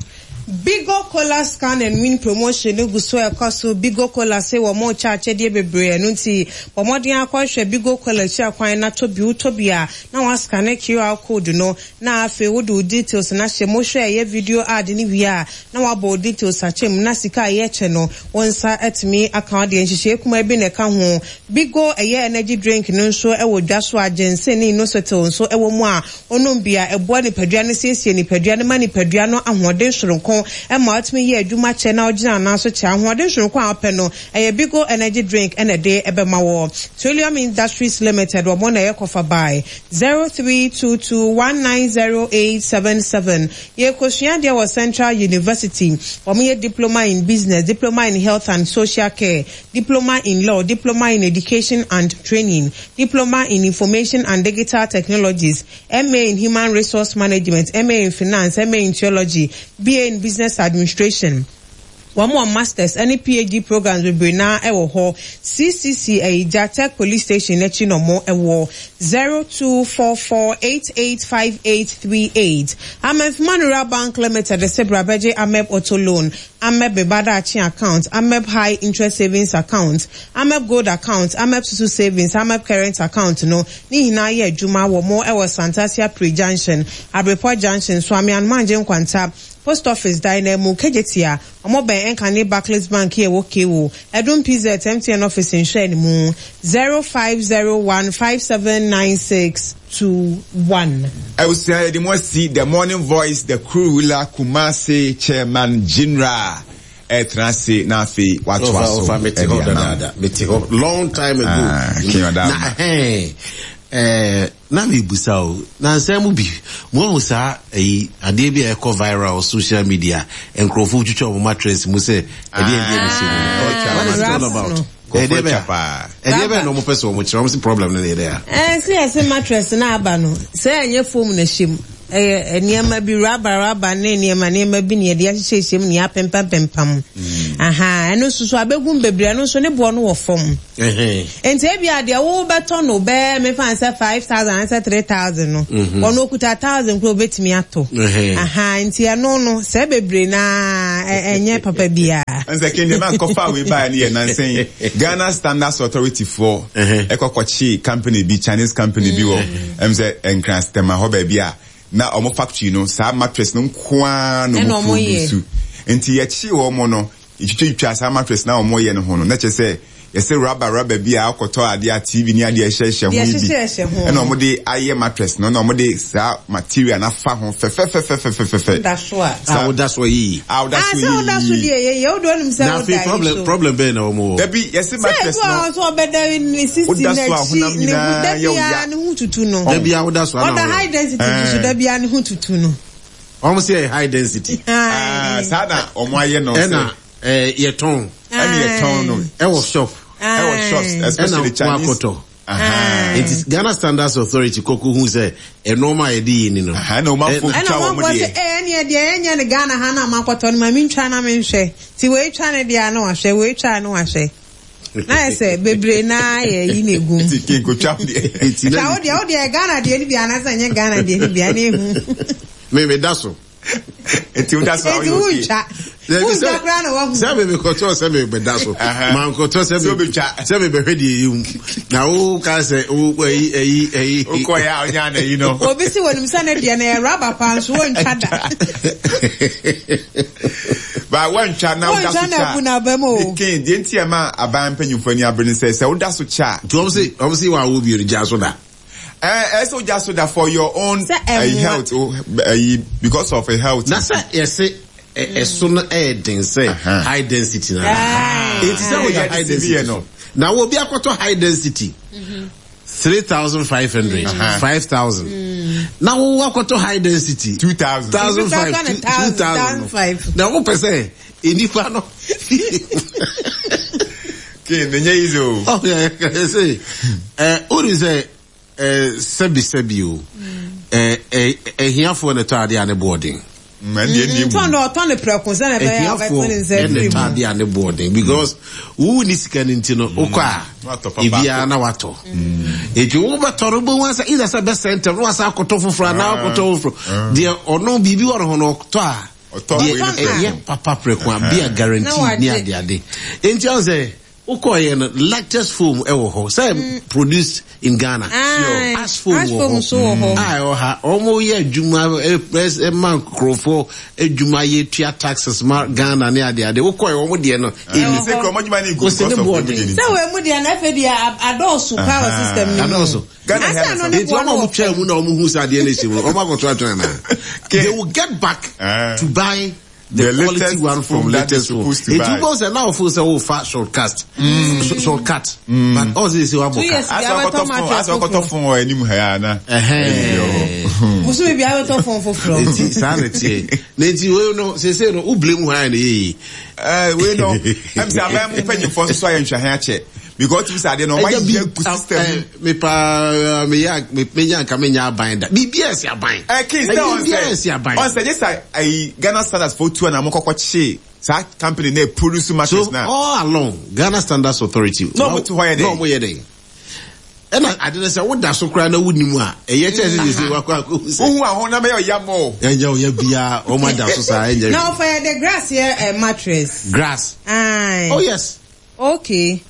[SPEAKER 2] Bigo Cola Scan and Win Promotion no gu so rekɔ so. Bigo Cola se wɔrekyɛ akyɛdeɛ bebree, ɛno nti bɔ mmɔden ara kɔhwɛ Bigo Cola akyiri akwan na tɔ bi. Wotɔ bi a, na woascane QR code no, na afei wode wo details no ahyɛ mu. Wohwɛ ɛyɛ video ad no wie a, na woabɔ wo details akyɛ mu, na sika a yɛkyɛ no, wo nsa atumi aka wo deɛ. Nhyehyɛe kumaa bi na ɛka ho. Bigo ɛyɛ energy drink no nso wɔ dwa so a ginseng ne inositol nso wɔ mu a Onom bi a, ɛboa nipadua no siesie nipadua no ma nipadua no ahoɔden soronko ma ɔtumi yɛ adwuma kyɛ na ɔgyina anan so kyɛ. Ahoɔden soronko a wopɛ no, ɛyɛ Bigo Energy Drink na ɛde bɛma wo. Trillium Industries Limited, wɔn na ɛyɛ kɔfa bae. 0322190877. Yɛrekɔsua adeɛ wɔ Central University. Wɔyɛ Diploma in Business, Diploma in Health and Social Care, Diploma in Law, Diploma in Education and Training, Diploma in Information and Digital Technologies, MA in Human Resource Management, MA in Finance, MA in Theology, BA in Business Administration. Wɔn wɔ Masters ne PhD programs bebree no ara wɔ hɔ. CCC Ayigya, Tech Police Station no akyi na wɔn wɔ. 0244885838. Amanfima Rural Bank Limited se bra bɛgye Ameb Auto Loan. Ameb Me Ba Daakye Account, Ameb High Interest Savings Account, Ameb Gold Account, Ameb Susu Savings, Ameb Current Account no ne nyinaa yɛ adwuma wɔ mo wɔ Santasi Apre Junction, Abrepɔ Junction, Suame Anomaangye Nkwanta, Post Office dan no amu, Kejetia, ɔmo bɛn Nkane Barclays Bank a ɛwɔ KO, Adum PZ, MTN Office nhwɛanimu, 0501 5796. 21.
[SPEAKER 1] Abusua yɛde mo asi The Morning Voice The Crew Ruler Kumasi Chairman General ɛtena ase na afei watoa so
[SPEAKER 3] ɛde ama wo. Mete hɔ long time ago. Ah,
[SPEAKER 1] King Odama.
[SPEAKER 3] Na ɛhɛn ɛɛ na mebusa o na nsɛm mu bi mo ahu saa ɛyi adeɛ bi a ɛkɔ viral social media nkurɔfoɔ twitwa wɔn mattress mu sɛ ɛdeɛ ɛdeɛ na ɛsɛ mu. What is it all about?
[SPEAKER 1] Nkurɔfoɔ atwa paa.
[SPEAKER 3] Ɛdeɛ bɛn na wɔn pɛ sɛ wɔn kyerɛ wɔn si problem no na yɛ dɛ a.
[SPEAKER 2] Ɛɛ sɛ yɛsɛ mattress na aba no sɛ ɛnyɛ foam na ɛhyɛ mu. Ɛyɛ nneɛma bi, raba raba ne nneɛma nneɛma bi na yɛde ahyehyɛhyɛ mu na yɛapempam-pempam. Ahaa, ɛno nso so abɛgum bebree, ɛno nso ne boɔ no wɔ fam. Nti ebia deɛ wobɛtɔ no bɛyɛ mefa no sɛ 5,000 anaasɛ 3,000 no, ɔno okuta 1,000 koraa obɛtumi atɔ. Ahaa, nti ɛno no, sɛ bebree no ara, ɛnyɛ papa biara.
[SPEAKER 1] Ɛnsɛ ken deɛ mankɔfa wei baeɛ no yɛ nansa yi Ghana Standards Authority foɔ ɛkɔ kɔkyee company bi, Chinese company bi wɔ ɛm sɛ Nkran Stema hɔ baabi a na wɔn factory no saa mattress no nko ara na wɔn produce. Nti yɛkyee wɔn no, yɛtwitwatwitwaa saa mattress no a wɔyɛ no ho no, na kyerɛ sɛ yɛsɛ rubber rubber bi a akɔtɔ adeɛ a TV ne adeɛ ɛhyɛhyɛ ho yi bi ɛna wɔn de ayɛ mattress no, ɛna wɔn de saa material no afa ho fɛfɛfɛfɛfɛfɛ.
[SPEAKER 2] Da so a.
[SPEAKER 3] A woda so yiyi.
[SPEAKER 1] A woda so yiyi.
[SPEAKER 2] Ah, sɛ woda so deɛ yɛ yɛ wode onim sɛ
[SPEAKER 3] woda yi so. Na afei problem bɛn na wɔn wɔ.
[SPEAKER 1] Dabi yɛsɛ mattress
[SPEAKER 2] no. Sɛ ebi wɔ hɔ sɛ ɔbɛda ne sisi n'akyi ne ho da biara ne ho tutu no.
[SPEAKER 3] Da biara woda so ana.
[SPEAKER 2] Ɔda high density nso da biara ne ho tutu no.
[SPEAKER 3] Wɔn sɛ yɛ high density.
[SPEAKER 1] Ah, saa na wɔn ayɛ no.
[SPEAKER 3] Ɛna ɛɛ yɛtɔn.
[SPEAKER 1] Ɛna yɛtɔn no.
[SPEAKER 3] Ɛwɔ shop.
[SPEAKER 1] Ɛwɔ shops especially Chinese.
[SPEAKER 3] Ɛna wakɔtɔ. Nti Ghana Standards Authority kɔkɔ hu sɛ ɛnɔɔma a yɛde yɛ ni no.
[SPEAKER 1] Ɛna wɔn afɔ twa wɔn deɛ.
[SPEAKER 2] Ɛna wɔn sɛ ɛɛ ɛneɛ deɛ ɛnyɛ no Ghana ha na makɔtɔ no ma mi ntwa na mi nhwɛ. Ti wei twa ne deɛ ano wahwɛ wei twa ano wahwɛ. Na yɛ sɛ bebree naa yɛ yi na egum.
[SPEAKER 1] Ti kinko twa deɛ.
[SPEAKER 2] Twa wo deɛ wo deɛ Ghana deɛ ni bi anaasɛ ɛnyɛ Ghana deɛ ni bi ɛna ehu.
[SPEAKER 3] Me me da so.
[SPEAKER 1] Nti woda so a
[SPEAKER 2] woyɛ okay. Nti wontwa. Wontwa koraa na wahu.
[SPEAKER 3] Sɛ me mekɔtɔ sɛ mebɛda so. Mankɔtɔ sɛ me sɛ mebɛhwɛ deɛ ɛyɛ mu. Na wo ka sɛ wo ayi ayi ayi.
[SPEAKER 1] Wokɔ yɛ a wonya na yi no.
[SPEAKER 2] Obi si wɔnim sɛ ne deɛ no yɛ raba paa nso wontwa da.
[SPEAKER 1] Ba wontwa na woda so
[SPEAKER 2] kya. Wontwa na abu na aba mu o.
[SPEAKER 1] Ken deɛ nti ɛma aban mpanyinfoɔ ani abere ne sɛ sɛ woda so kya.
[SPEAKER 3] Nti wɔn se wɔn se wɔawo bio no gya so da.
[SPEAKER 1] Ɛɛ sɛ ogya so da for your own health ɛyi because of health.
[SPEAKER 3] Na sɛ yɛse ɛso no ɛyɛ den sɛ high density na. Eti sɛ woyɛ high density no. Na wo obi akɔtɔ high density. 3,500, 5,000. Na wo akɔtɔ high density.
[SPEAKER 1] 2,000.
[SPEAKER 3] 1,500, 2,000. Na wo pɛ sɛ nipa no.
[SPEAKER 1] King, ɛnyɛ easy o.
[SPEAKER 3] Oh, yeah, yeah, yeah. Eh, who is eh, sɛbi sɛbi o. Eh, eh, ahiafoɔ na ɛtɔ adeɛ a ne boɔ den.
[SPEAKER 2] Ntɔn dɛ ɔtɔ ne prɛko sɛ na ɛbɛyɛ a ɔbɛtɔ ne nsa
[SPEAKER 3] Ahiafoɔ na
[SPEAKER 2] afiri
[SPEAKER 3] ɛtɔ
[SPEAKER 2] mu.
[SPEAKER 3] adeɛ a ne boɔ den because wo ni sika no nti no wokɔ a ebiara na watɔ. Eti wobɛtɔ no wobɛhu asɛ either sɛ bɛsɛ ntɛm na wasa akɔtɔ foforɔ anaa akɔtɔ foforɔ. Deɛ ɔno biribi wɔ ne ho no ɔtɔ a deɛ ɛyɛ papa prɛko a bi a guarantee ne ade ade. Enti ɔn sɛ wokɔɔyɛ no latest foam ɛwɔ hɔ sɛ mm. produced in Ghana. Ash foam wɔ hɔ a ɛwɔ ha wɔn yɛ adwuma ɛma nkurɔfoɔ adwuma yɛ tua taxes ma Ghana ne ade ade wokɔɔyɛ wɔn deɛ no
[SPEAKER 1] ɛni sɛ kurɔmɔ adwuma ne gu because of wɔn deɛ.
[SPEAKER 2] Sɛ wɔn mu deɛ na afɛ deɛ adɔɔso paa wɔ system no mu.
[SPEAKER 3] Adɔɔso.
[SPEAKER 1] Ghana
[SPEAKER 2] Asa no ne
[SPEAKER 3] Enti
[SPEAKER 2] boɔ
[SPEAKER 3] wɔn
[SPEAKER 2] no
[SPEAKER 3] a
[SPEAKER 2] wɔ
[SPEAKER 3] wɔtwaa
[SPEAKER 2] fam.
[SPEAKER 3] mu na wɔn hu sɛ adeɛ no ɛhyɛ mu no, wɔn akɔto atwene anaa? They will get back to buy the,
[SPEAKER 1] The
[SPEAKER 3] quality
[SPEAKER 1] latest
[SPEAKER 3] one from
[SPEAKER 1] phone that
[SPEAKER 3] latest
[SPEAKER 1] they're
[SPEAKER 3] phone.
[SPEAKER 1] supposed to
[SPEAKER 3] Enti
[SPEAKER 1] buy.
[SPEAKER 3] wobɛhu sɛ na wɔfo sɛ wofa shortcut, shortcut, but ɔsɛ sɛ
[SPEAKER 2] Two
[SPEAKER 3] wabɔ ka.
[SPEAKER 2] years
[SPEAKER 1] Asɛ
[SPEAKER 2] bi abɛtɔ
[SPEAKER 1] ɔkɔtɔ phone,
[SPEAKER 2] mattress
[SPEAKER 1] asɛ ɔkɔtɔ
[SPEAKER 2] foforɔ.
[SPEAKER 1] phone wɔ anim ha ya na.
[SPEAKER 3] Ɛhɛn.
[SPEAKER 2] Bosome bi abɛtɔ phone foforɔ.
[SPEAKER 3] Enti saa na ɛteɛ. Na enti wei no, seesei no, wo blame hwan na ɛyɛ yie?
[SPEAKER 1] Ɛɛ wei no, ɛm sɛ aban mu mpanyinfoɔ nso so ayɛ nhwɛhan akyɛ. Because tumi sɛ adeɛ no ɔma yɛ gu system mu.
[SPEAKER 3] Me paa me yɛ me menya nka menya aban da. Biribi a ɛsi aban.
[SPEAKER 1] Ɛ king sɛ ɔn
[SPEAKER 3] Biribi a ɛsi
[SPEAKER 1] sɛ
[SPEAKER 3] aban.
[SPEAKER 1] ɔn sɛ nye sa ayi Ghana standards fo tu a na mo kɔkɔ kye saa company na produce mattress
[SPEAKER 3] So
[SPEAKER 1] na.
[SPEAKER 3] all along Ghana Standards Authority.
[SPEAKER 1] Na ɔmo te hɔ yɛ dɛn?
[SPEAKER 3] Na ɔmo yɛ dɛn? Ɛna ade no sɛ woda so koraa na wonim a ɛyɛ kyɛ sɛ sɛ wakɔ akɔhu sɛ.
[SPEAKER 1] Wohu aho na bɛyɛ ɔya mo.
[SPEAKER 3] Ɛnyɛ ɔya biara ɔmo ada so saa ɛnyɛ.
[SPEAKER 2] Na ɔfa yɛ de grass yɛ eh, mattress.
[SPEAKER 3] Grass.
[SPEAKER 2] Aye.
[SPEAKER 3] Oh yes.
[SPEAKER 2] Okay.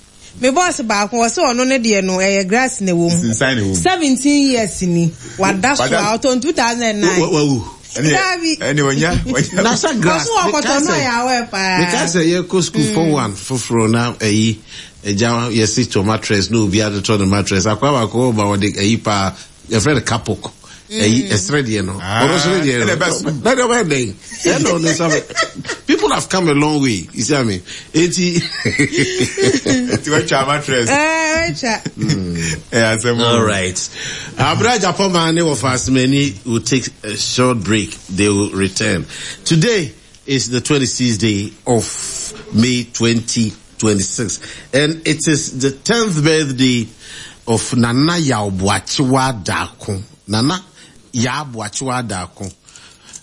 [SPEAKER 2] Me boss baako ɔse ɔno ne deɛ no ɛyɛ grass na ɛwɔ mu.
[SPEAKER 1] Nsensan na ɛwɔ mu.
[SPEAKER 2] 17 years ni wada so a ɔtɔn 2009.
[SPEAKER 3] Wawu.
[SPEAKER 2] Daabi.
[SPEAKER 1] Ɛne wanya wanya.
[SPEAKER 3] Na sɛ grass.
[SPEAKER 2] Ɔso ɔkɔtɔ no ɔyɛ awɛ paa.
[SPEAKER 3] Meka sɛ yɛkɔ school form one foforɔ na ɛyi ɛgya yɛsi tɔ mattress na obi atotɔ ne mattress akwa baako ɔba ɔde ɛyi paa yɛfrɛ no kapok ɛyi ɛsrɛ deɛ no ɔno nso ne deɛ no na deɛ ɔbɛyɛ dɛn ɛna ɔno nsa bɛ people have come a long way you see what I mean eti.
[SPEAKER 1] Eti watwa mattress.
[SPEAKER 2] Ɛɛ watwa.
[SPEAKER 1] Ɛyɛ asɛm.
[SPEAKER 3] All right. Abra Japoma ne wɔfa Asemani will take a short break. They will return. Today is the 26th day of May 2026 and it is the 10th birthday of Nana Yaw Boakyewa Darko. Nana Yaa Boakyewa Adaako.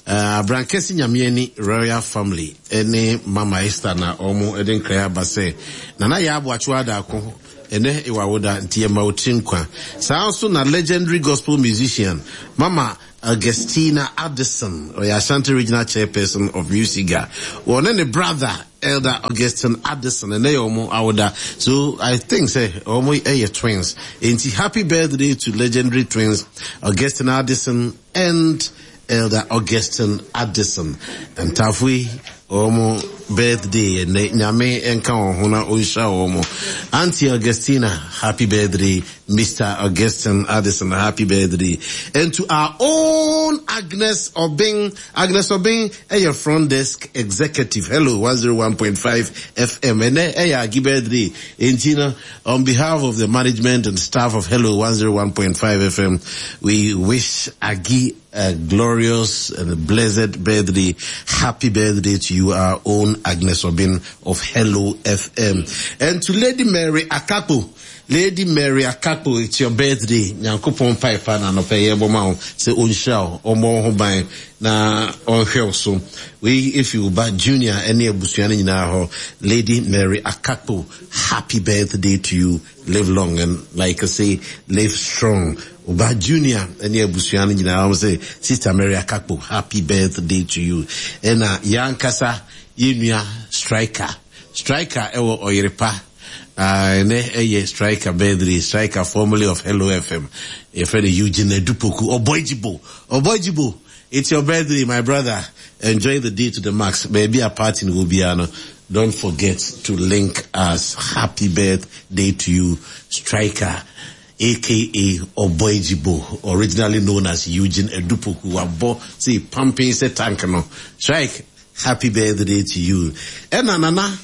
[SPEAKER 3] Abrankɛse Nyameani Royal Family ne Mama Esther na wɔn de nkra aba sɛ Nana Yaa Boakyewa Adaako ɛnɛ ewɔ awoda nti yɛma wo tiri nkwa. Saa nso na legendary gospel musician Mama Augustina Addison, ɔyɛ Ashanti Regional Chairperson of MUSIGA. Wɔne ne brother Elder Augustine Addison ɛnɛ yɛ wɔn awoda. So I think sɛ wɔn yɛ twins. Enti happy birthday to legendary twins Augustine Addison and Elder Augustine Addison. Ntaafo yi wɔn birthday ɛnɛ Nyame nka wɔn ho na ɔnhyira wɔn. Auntie Augustina, happy birthday. Mister Augustine Addison, happy birthday. And to our own Agnes Obeng. Agnes Obeng, ɛyɛ front desk executive. Hello, 101.5 FM. Ɛnɛ ɛyɛ Agi birthday. Enti no, on behalf of the management and staff of Hello 101.5 FM, we wish Agi a glorious and blessed birthday. Happy birthday to you, our own Agnes Obin of Hello FM. And to Lady Mary Akako. Lady Mary Akakpo it's your birthday Nyankopɔn mpae pa na anɔpa yi yɛbɔ ma wo sɛ ɔnhyira wo, ɔmmɔ wo ho ban na ɔnhwɛ wo so. Wei efi wo ba Junior ɛne abusua no nyinaa hɔ. Lady Mary Akakpo happy birthday to you, live long and like I say live strong. Wo ba Junior ɛne abusua no nyinaa wɔn sɛ Sister Mary Akakpo happy birthday to you. Ɛna yɛn ankasa yɛn nua Striker, Striker ɛwɔ Ɔyerepa. Ah, ɛnɛ ɛyɛ Striker birthday, Striker formerly of Hello FM. Yɛfrɛ no Eugene Adupoku, Ɔbɔegyibo, Ɔbɔegyibo, it's your birthday my brother, enjoy the day to the max. Baabi a party no wɔ biara no, don't forget to link us. Happy birthday to you, Striker aka Ɔbɔegyibo, originally known as Eugene Adupoku. Wabɔ sɛ pumping sɛ tank no. Strike, happy birthday to you. Ɛna Nana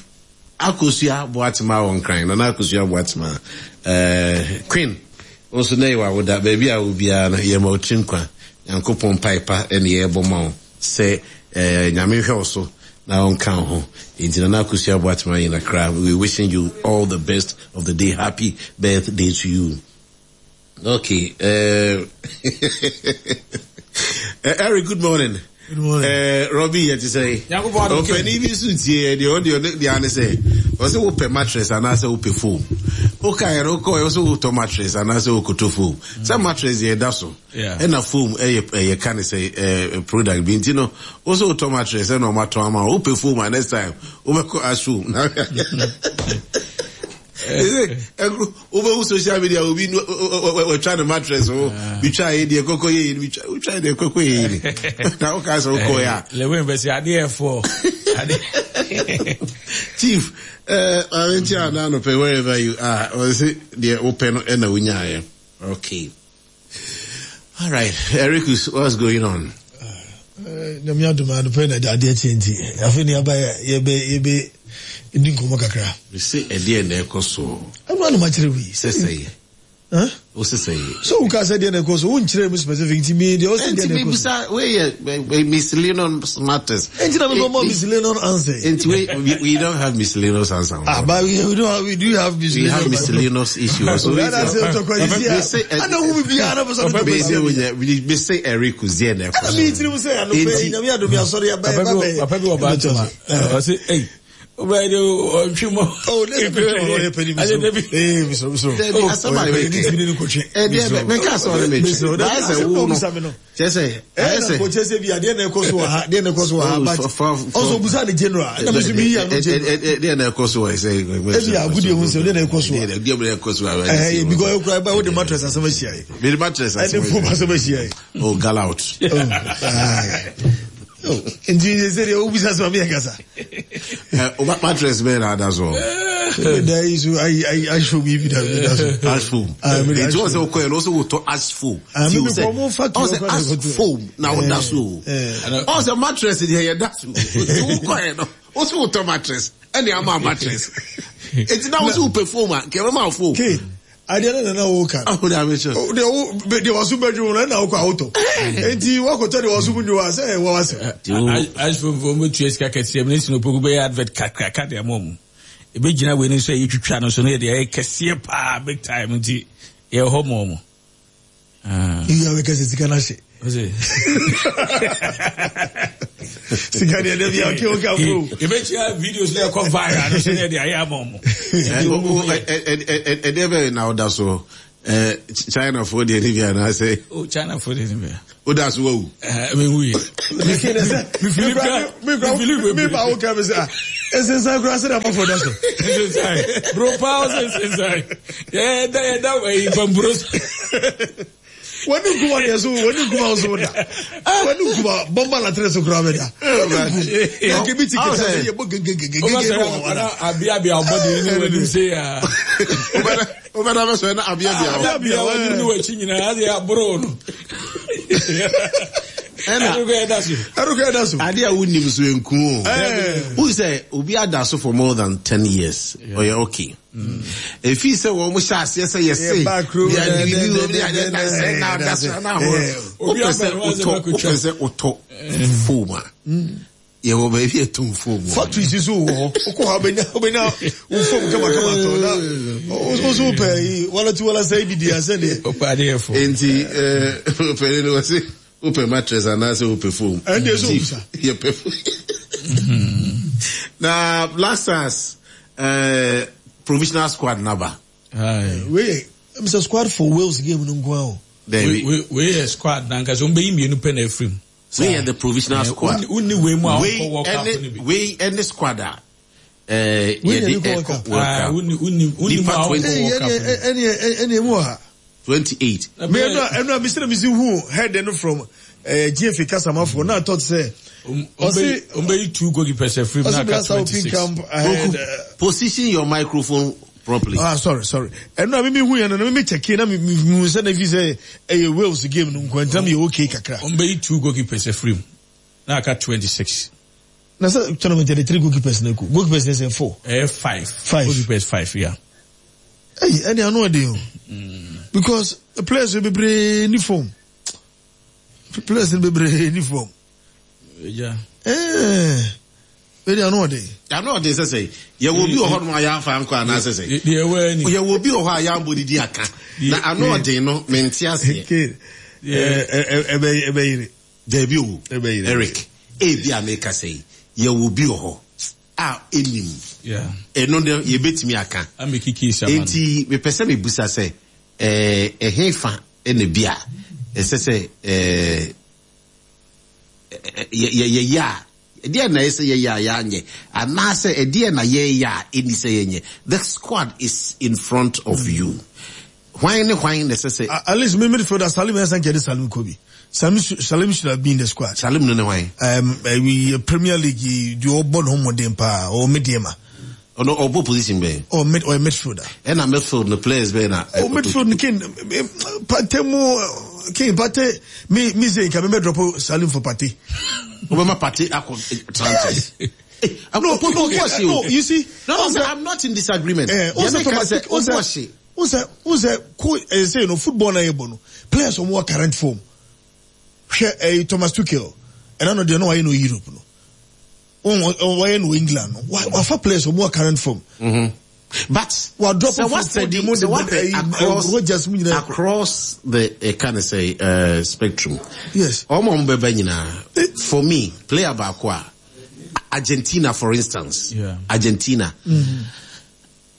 [SPEAKER 3] Akosua Boatema wɔ Nkran, Nana Akosua Boatema, eh, Queen, wo nso nɛ yɛ w'awoda, baabi a wɔ biara no, yɛma wo tiri nkwa, Nyankopɔn mpae pa ne yɛbɔ ma wo sɛ eh, Nyame nhwɛ wo so na ɔnka wo ho. Enti Nana Akosua Boatema in Accra, we wishing you all the best of the day, happy birthday to you. Okay. Uh, Eric, good morning.
[SPEAKER 4] Good morning.
[SPEAKER 3] Robbie, yɛ te sɛ. Ɔpɛni bi nso tie yɛ deɛ ɔde ɔde deɛ ane sɛ ɔsɛ wopɛ mattress anaasɛ wopɛ foam. Woka yɛ no wokɔ yɛ ɔsɛ wotɔ mattress anaasɛ wokoto foam. Sɛ mattress yɛ da so. Ɛna foam ɛyɛ ɛyɛ ka ne sɛ ɛɛ product bi nti no wosɛ wotɔ mattress ɛna ɔmo atɔn ama wo wopɛ foam a next time wobɛkɔ ash foam. Wobɛhu social media obi watwa ne mattress ho bitwa yɛ deɛ kɔkɔ yɛ yɛ bitwa wotwa deɛ kɔkɔ yɛ yɛ na woka sɛ wokɔ yɛ a.
[SPEAKER 4] Lewin bɛsi adeɛ ɛfoɔ.
[SPEAKER 3] Chief maame nti a na anɔpɛ wherever you are ɔse deɛ wopɛ no ɛna wonyaeɛ okay. All right, Ericus, what's going on?
[SPEAKER 4] Nyame adom anɔpɛ na adeɛ kye nti afei ne aba yɛbɛ yɛbɛ di nkɔmmɔ kakra.
[SPEAKER 3] Mese ɛdeɛ na ɛkɔ soɔ.
[SPEAKER 4] Ɛno ano makyerɛ wei.
[SPEAKER 3] Sɛ sɛ yɛ. Wo sɛ sɛ yɛ.
[SPEAKER 4] So wo ka sɛ deɛ na ɛkɔ so wo nkyerɛ mu specific nti mi deɛ ɔsɛ deɛ na ɛkɔ so.
[SPEAKER 3] Nti mi bisa wei yɛ miscellaneous matters.
[SPEAKER 4] Nti na mi bɔ mɔ miscellaneous answer.
[SPEAKER 3] Nti we we don't have miscellaneous answer.
[SPEAKER 4] Ah, but we, we don't have, we do have miscellaneous.
[SPEAKER 3] We have miscellaneous issues. So we
[SPEAKER 4] say, I know who be ana for some.
[SPEAKER 3] We say we we say Eric Uzie na
[SPEAKER 4] ɛkɔ. Mi tiri mu sɛ ano pɛ nyame adum ya sɔrɔ ya ba ba bɛ.
[SPEAKER 5] Papa bi wɔ ba atoma. Ɔsi eyi. Ɔbɛ de ɔtwi mɔ.
[SPEAKER 4] Oh, ne sɛ pɛtɛ ɔyɛ pɛni mi so. Ee mi so mi so.
[SPEAKER 3] Dɛbi asɛm a yɛ kɛ. Ɛdi ɛbɛ mɛ ká sɔrɔ mi twi. Báyɛ sɛ wo no. Kyɛ sɛ
[SPEAKER 4] ɛyɛ sɛ. Ɛna sɛ bi adeɛ na ɛkɔ so wɔ ha adeɛ na ɛkɔ so wɔ ha but ɔsɔ busa ne general ɛna mi nso mi yi ano general.
[SPEAKER 3] Ɛdeɛ na ɛkɔ so wɔ sɛ.
[SPEAKER 4] Ebi agudie ho nsɛm ɛdeɛ na ɛkɔ so wɔ.
[SPEAKER 3] Ɛdeɛ na ɛkɔ so wɔ.
[SPEAKER 4] Ɛhɛ because ekura ɛba o de mattress asɛm ahyia yi.
[SPEAKER 3] Mi de mattress asɛm
[SPEAKER 4] ahyia. Ɛne foam asɛm ahyia yi.
[SPEAKER 3] Oh gal out.
[SPEAKER 4] Nti sɛ deɛ wobisa sɛ mame yɛkasa.
[SPEAKER 3] Mattress bɛyɛ na ada so.
[SPEAKER 4] Da yi so ayi ayi ash foam yi bi da bi da so.
[SPEAKER 3] Ash foam. Nti wɔn sɛ wokɔ yɛ no wɔn sɛ wotɔ ash foam.
[SPEAKER 4] Ti o sɛ
[SPEAKER 3] ɔn sɛ ash foam na woda so. Ɔn sɛ mattress deɛ yɛ da so. Nti wokɔ yɛ no wɔn sɛ wotɔ mattress ɛna ama mattress. Nti na wɔn sɛ wopɛ foam a nkɛ bɛma foam.
[SPEAKER 4] Adeɛ no na na woka.
[SPEAKER 3] Aho na abɛhyɛ.
[SPEAKER 4] Deɛ wo deɛ waso bɛdwo no ɛna wokɔ awotɔ. Enti wakɔtɔ deɛ waso mu nwo a sɛ ɛwɔ wasɛm.
[SPEAKER 5] Asofo mo tua sika kɛseɛ mu ne sinopoku bɛyɛ advert kakraka de ama ɔmo. Ebɛgyina wei no nso a yɛtwitwa no so no yɛ deɛ ɛyɛ kɛseɛ paa big time nti yɛwɔ hɔ ma ɔmo.
[SPEAKER 4] Eyi a bɛka sɛ sika no ahye. Sika deɛ dɛbi a ɔkè ɔkè afro.
[SPEAKER 5] Yɛbɛkyia videos na ɛkɔ viral no sɛ yɛde ayɛ ama ɔmo.
[SPEAKER 3] Ɛdeɛ bɛyɛ na ɔda so China foɔ deɛ ne bi anaasɛ.
[SPEAKER 5] O China foɔ deɛ ne bi.
[SPEAKER 3] O da so wawu.
[SPEAKER 5] Mi wu yɛ.
[SPEAKER 4] Mi kura mi ba wo kɛ mi sɛ esensan kura sɛ dama fɔ da so.
[SPEAKER 5] Esensan bro paa ɔsɛ esensan yɛ da yɛ da ɛyi pampuro so.
[SPEAKER 4] Wani nkuma deɛ so wani nkuma so da wani nkuma bɔmba latrɛ so kura bɛ da wani nkum yɛ bi ti kɛtɛ sɛ yɛ bɔ gegegegege wɔ
[SPEAKER 5] wala. Abia bia ɔbɔ de ni wani se ya.
[SPEAKER 3] Wobɛda bɛ sɔrɔ na abia bia
[SPEAKER 5] hɔ. Abia bia wani ni wakyi nyinaa adi aboro no.
[SPEAKER 3] Ɛna
[SPEAKER 4] ɛrukɔ ɛda so.
[SPEAKER 3] Ade a wonim so nku o. Wohu sɛ obi ada so for more than 10 years. Ɔyɛ okay. Efi sɛ wɔn hyɛ aseɛ sɛ yɛse wopɛ sɛ wotɔ wopɛ sɛ wotɔ foam a yɛwɔ baabi a ɛtɔn foam wɔ.
[SPEAKER 4] Factory si so wɔ hɔ wokɔ hɔ wobɛnya wobɛnya wo foam kamakama tɔ na wo so wopɛ yi wala ti wala sɛ bi di asɛ deɛ.
[SPEAKER 5] Wopɛ adeɛ fo.
[SPEAKER 3] Enti pɛni no wɔse wopɛ mattress anaasɛ wopɛ foam.
[SPEAKER 4] Ɛnde ɛsɛ obisa.
[SPEAKER 3] Yɛpɛ foam. Na Black Stars provisional squad naba.
[SPEAKER 4] Wei yɛ ɛmi sɛ squad for Wales game no nko ara o.
[SPEAKER 3] Dabi.
[SPEAKER 5] Wei yɛ squad na nkasa wɔn bɛyi mmienu pɛ na efiri mu.
[SPEAKER 3] Wei yɛ the provisional squad.
[SPEAKER 5] Wonni wei mu a wɔnkɔ World Cup no bi.
[SPEAKER 3] Wei ɛne squad a yɛde ɛkɔ World Cup.
[SPEAKER 5] Nipa 20.
[SPEAKER 4] Ɛne ɛmu wɔ ha.
[SPEAKER 3] 28.
[SPEAKER 4] Me ɛnu a ɛnu a mi sɛ mi si hu head no from GFA kasamafo na atɔ te sɛ.
[SPEAKER 5] Ɔsi ɔmbɛyi two goalkeepers afiri mu na aka 26.
[SPEAKER 4] Camp ahead.
[SPEAKER 3] Position your microphone properly.
[SPEAKER 4] Ah sorry sorry. Ɛnu a mi mi hu yɛn no na mi mi check na mi mi hu sɛ na efi sɛ ɛyɛ Wales game no nko ntina mi yɛ okay kakra.
[SPEAKER 5] Ɔmbɛyi two goalkeepers afiri mu na aka 26.
[SPEAKER 4] Na sɛ tournament yɛ de three goalkeepers na eko goalkeepers na ɛsɛ four.
[SPEAKER 5] Ɛyɛ five.
[SPEAKER 4] Five.
[SPEAKER 5] Goalkeepers five yeah.
[SPEAKER 4] Ɛyi ɛni ano ɛdi o. Because players bebree ni form. Players bebree ni form.
[SPEAKER 5] Yeah.
[SPEAKER 4] Eh. Ɛdi ano ɔden.
[SPEAKER 3] Ano ɔden sɛ sɛ yɛwɔ obi wɔ hɔ nom a yɛamfa ankɔ anaasɛ sɛ. Yɛwɔ obi wɔ hɔ a yɛambɔ ne di aka. Na ano ɔden no mente aseɛ.
[SPEAKER 4] Ɛbɛyere.
[SPEAKER 3] Dabi o. Eric, ebi a meka sɛ yi, yɛwɔ obi wɔ hɔ a ɛnim. Ɛno no yɛbɛtumi aka. Enti mepɛ sɛ mebusa sɛ ɛhe fa na bi a ɛsɛ sɛ yɛyɛ a ɛdeɛ na ɛsɛ yɛyɛ a yɛanyɛ anaasɛ ɛdeɛ na yɛyɛ a ɛni sɛ yɛnyɛ. The squad is in front of you. Hwan ne hwan na ɛsɛ sɛ.
[SPEAKER 4] At least me midfielder Salim ɛsɛ nka yɛde Salim kɔ bi. Salim Salim should have been in the squad.
[SPEAKER 3] Salim no ne hwan?
[SPEAKER 4] Um, Premier League deɛ ɔbɔ ne ho mmɔden paa ɔwɔ Medeama.
[SPEAKER 3] Ɔno ɔbɔ position bɛn?
[SPEAKER 4] Ɔ mid ɔyɛ midfielder.
[SPEAKER 3] Ɛna midfield no players bɛn na.
[SPEAKER 4] Oh midfield no kin Partey mu kin Partey mi mi se nka mi bɛ drop Salim for Partey.
[SPEAKER 3] Wobɛma Partey akɔ transit.
[SPEAKER 4] No no no you see.
[SPEAKER 3] No no I'm not in disagreement.
[SPEAKER 4] Eh, o sɛ Thomas o sɛ o sɛ o sɛ ko ɛsɛ no football na yɛ bɔ no players wɔn wɔ current form hwɛ ɛyi Thomas Tuchel ɛna no deɛ no wayɛ no Europe no. Wɔyɛ no wɔ England no wafa players wɔn wɔ current form.
[SPEAKER 3] Mm-hmm. But
[SPEAKER 4] wa drop
[SPEAKER 3] sɛ wa study sɛ wa hwɛ across
[SPEAKER 4] Rogers mu nyinaa
[SPEAKER 3] across the uh, kind of say spectrum.
[SPEAKER 4] Yes.
[SPEAKER 3] Wɔn a wɔn bɛba nyinaa for me player baako a Argentina for instance.
[SPEAKER 5] Yeah.
[SPEAKER 3] Argentina. Mm-hmm.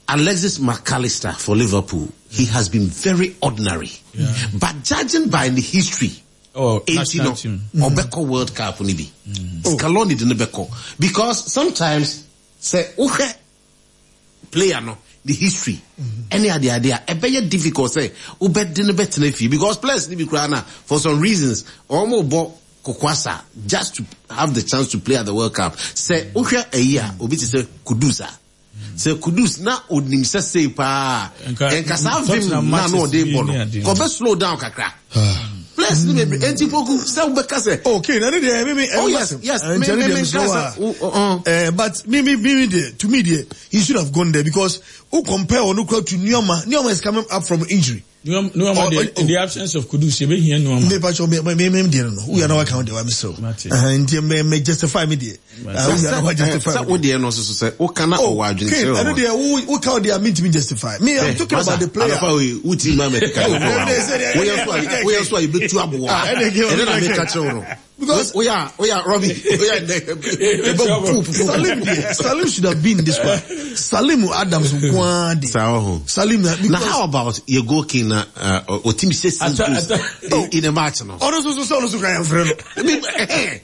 [SPEAKER 3] Alexis McAllister for Liverpool, he has been very ordinary.
[SPEAKER 5] Yeah.
[SPEAKER 3] But judging by the history,
[SPEAKER 5] Oh,
[SPEAKER 3] enti no, ɔbɛkɔ World Cup no bi. Scaloni de no bɛkɔ. Because sometimes, sɛ wohwɛ player no, the history, ɛne ade ade a, ɛbɛyɛ difficult sɛ wobɛde no bɛtena fie. Because players no bi koraa na, for some reasons, wɔn bɔ kokwasa just to have the chance to play at the World Cup. Sɛ wohwɛ ayi a, obi te sɛ Kudus a, Sɛ Kudus na onim sɛ sei paa a, nka saa vim na na ɔde bɔ no, nka ɔbɛ slow down kakra. Players ni bebree, enti poku sɛ wobɛka sɛ.
[SPEAKER 4] Okay, na ne deɛ me me.
[SPEAKER 3] Oh yes, yes, me me me nka sɛ.
[SPEAKER 4] Eh, but me me me deɛ, to me deɛ, he should have gone there because who compare ɔno kura to Nneoma, Nneoma is coming up from injury.
[SPEAKER 5] Nuama deɛ, in the absence of Kudus, yɛbɛhia Nuama.
[SPEAKER 4] Me pacho me me me deɛ no. Woyɛ na waka wo deɛ wa mesrɛ. Nti me me justify me deɛ. Woyɛ na wa justify.
[SPEAKER 3] Sɛ wo deɛ no soso sɛ woka na ɔwɔ adwene kyerɛ
[SPEAKER 4] wɔn. Ɛno deɛ wo woka wo deɛ a mentumi justify. Me I'm talking about the player.
[SPEAKER 3] Anɔpa wei wotumi ma mɛkeka no kɔ wa. Woyɛ so a woyɛ so a yɛbɛtu aboɔ. Ɛno na meka kyerɛ wo no.
[SPEAKER 4] Because
[SPEAKER 3] oya oya Robbie oya
[SPEAKER 4] ebe Salim Salim should have been in this one. Salim Adams nkwaa de.
[SPEAKER 3] Saa
[SPEAKER 4] Salim na
[SPEAKER 3] because. Na how about your goal king na otimi sɛ six goals in a match no.
[SPEAKER 4] Ɔno nso so sɛ ɔno nso kura yɛn fere no.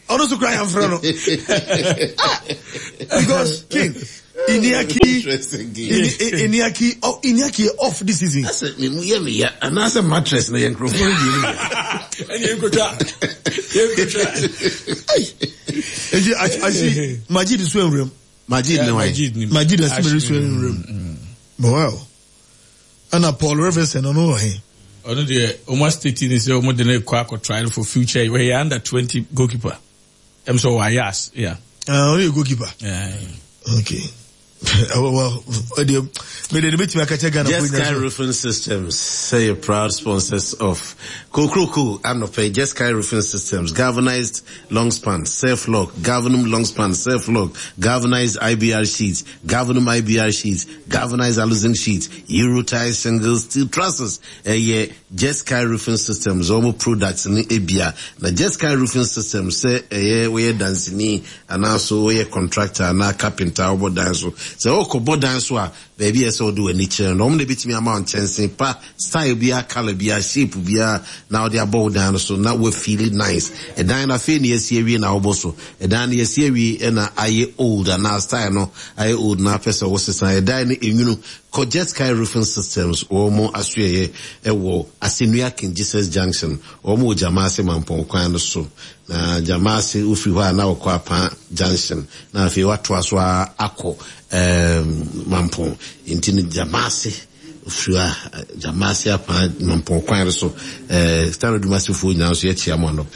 [SPEAKER 4] Ɔno nso kura yɛn fere no. Because king. Iniaki, Iniaki, oh, Iniaki off this season.
[SPEAKER 3] Asɛ me mu yɛ me ya anaasɛ mattress na yɛ nkurɔfoɔ no deɛ mu.
[SPEAKER 5] Ɛne yɛnkotwa yɛnkotwa.
[SPEAKER 4] Eti asi Majid so nwuram.
[SPEAKER 3] Majid ne wan?
[SPEAKER 4] Majid asimiri so nwuram. Wow. Ɛna Paul Reverson ɔno wɔ he?
[SPEAKER 5] Ɔno deɛ ɔmo asiteti ne sɛ ɔmo de ne kɔ akɔ trial for future ɔyɛ under 20 goalkeeper. Ɛm sɛ ɔwɔ Ayas, yeah.
[SPEAKER 4] Ah, ɔno yɛ goalkeeper.
[SPEAKER 5] Yeah.
[SPEAKER 4] Okay. well, ɛdeɛ mede ne bɛtumi aka kyɛ Ghana
[SPEAKER 3] Just Sky Roofing Systems sɛ yɛ proud sponsors of Kokroko anɔpɛ Just Sky Roofing Systems galvanized long span self lock galvanum long span self lock galvanized IBR sheets galvanum IBR sheets galvanized aluzinc sheets Eurotile single steel trusses ɛyɛ Just Sky Roofing Systems wɔn products no ebia. Na Just Sky Roofing Systems sɛ ɛyɛ woyɛ danseni anaa so woyɛ contractor anaa carpenter a wobɔ dan so. Sɛ wokɔbɔ dan so a, baabi a ɛsɛ sɛ wode w'ani kyerɛ no, wɔn na ebetumi ama wo nkyɛnse pa, style biara, colour biara, shape biara na wode abɔ wo dan no so na woafeeli nice. Ɛdan no afei na yɛasi awie na wobɔ so. Ɛdan no yɛasi awie na ayɛ old anaa style no ayɛ old na apɛ sɛ wosesa. Ɛdan no enwunu. Kɔ Jet Sky Roofing Systems wɔn asoɛeɛ wɔ Asennua King Jesus Junction, wɔn wɔ Gyamaase Mampɔn kwan no so. Na Gyamaase wofiri hɔ a na wɔkɔ Apaa Junction na afei watoa so ara akɔ ɛɛm Mampɔn. Nti no Gyamaase wofiri hɔ a Gyamaase Apaa Mampɔn kwan no so. Ɛɛ Stanley Dumasefoɔ nyinaa nso yɛkyea mo anɔpa yi.